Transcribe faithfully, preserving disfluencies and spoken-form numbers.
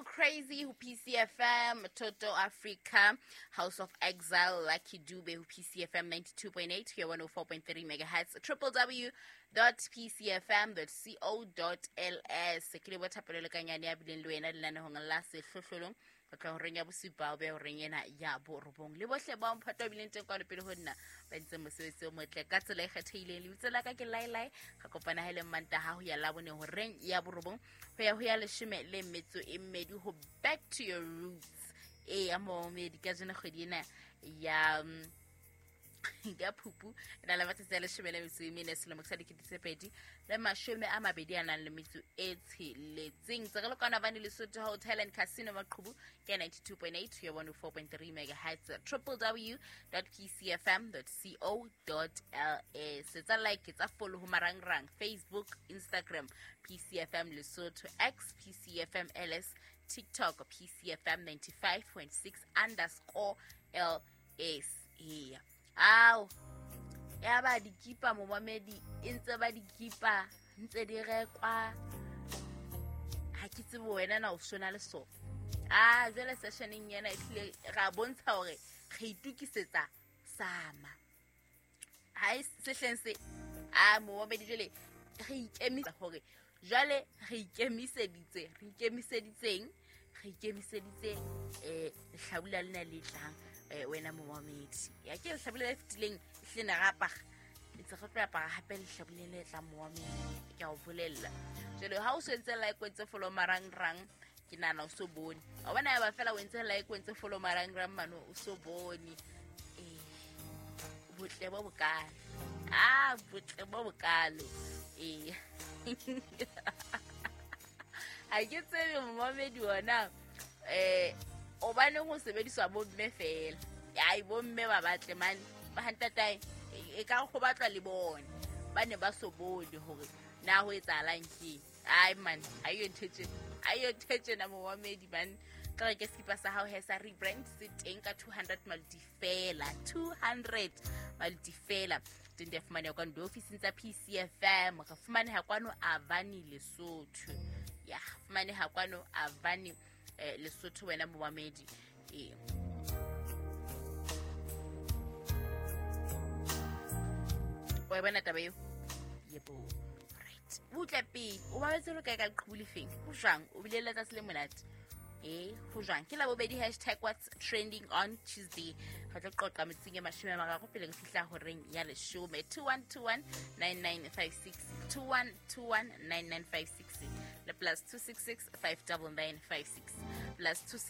Little Crazy ho P C F M, Toto Africa, House of Exile, Lucky Dube ho P C F M ninety-two point eight ho one oh four point three megahertz, w w w dot p c f m dot co dot l s. Ke leboha Thapelo Lekanyane ya bileng le wena lenanehong la Sehlohlolong ho tloha horeng ya bosupa ho beha horeng ena ya borobong, le bohle ba mphato a bileng teng kwano pele ho nna ba entseng mosebetsi o motle ka tsela e kgethehileng. Lebitso la ka ke Lailai. Re kopana ha e le Mantaha ho ya Labone horeng ya borobong ho ya ho ya leshome le metso e mmedi ho Back to Your Roots. E ya momedi ka jena kgwedi ena ya mm, ya Phupu e na le matsatsi a leshome le metso e mene selemo sa dikete tse pedi le mashome a mabedi a nang le metso e tsheletseng. Tse re le kwana bane Lesotho Hotel and Casino Maqhubu ke ninety-two point eight ho ya one oh four point three megahertz, w w w dot p c f m dot co dot l s. Tsa like, tsa follow ho marangrang, Facebook, Instagram, P C F M Lesotho, X, P C F M L S, TikTok, P C F M ninety-five point six underscore L S. Eya, ao ya ba dikipa momamedi e ntse ba dikipa ntse di rekwa. Ha ke tsebe wena na o sona le sona. A jwale sessioneng ena e tlile ra bontsha hore re itukisetsa sama ha e sehleng se a momamedi. Jwale re ikemisa hore jwale re ikemiseditse re ikemiseditseng re ikemiseditse um lehlabula lena le tlang. um wena momamedi ya ke lehlabula le fetileng ehlile ne re apara, ntse re tlo apara hape lehlabuleng le tlang. Momamedi, ke a o bolella jwale ha o so entse like, o entse follow marangrang, ke nahana o so bone. Wa bona ya ba fela o entse like, o entse follow marangrang mane, o so bone ee botle bo bokalo, ah, botle bo bokalo. Ee, ha ke tsebe momamedi ona um hobaneng ho sebediswa bomme feela. Ai, bomme ba batle mane ba hantatae e ka go batlwa le bone ba ne ba so bone hore na ho etsahalang keng. Ai man, ha yo ntho tjena, ha yo ntho tjena momamedi man. Ka reke sekipa sa hao he sa rebrand se teng ka two hundred maluti fela, two hundred maluti fela. Teng di a fumaneha kwano diofising tsa P C F M. Re fumaneha kwano Avani Lesotho, ya fumaneha kwano Avani eh, Lesotho wena momamedi. Ee, wa e bona taba eo? Yebo, right, butle pele o babetse lo kae ka leqhubu lefeng? Ho jwang? O bile le letsatsi le monate? E ho jwang? Ke Labobedi, hashtag what's trending on Tuesday. Re tlo qoqa metsing e mashome a mararo pele re fihla horeng ya leshome. two one two one nine nine five six, two one two one nine nine five six le plus two six six five nine nine five six, plus two six.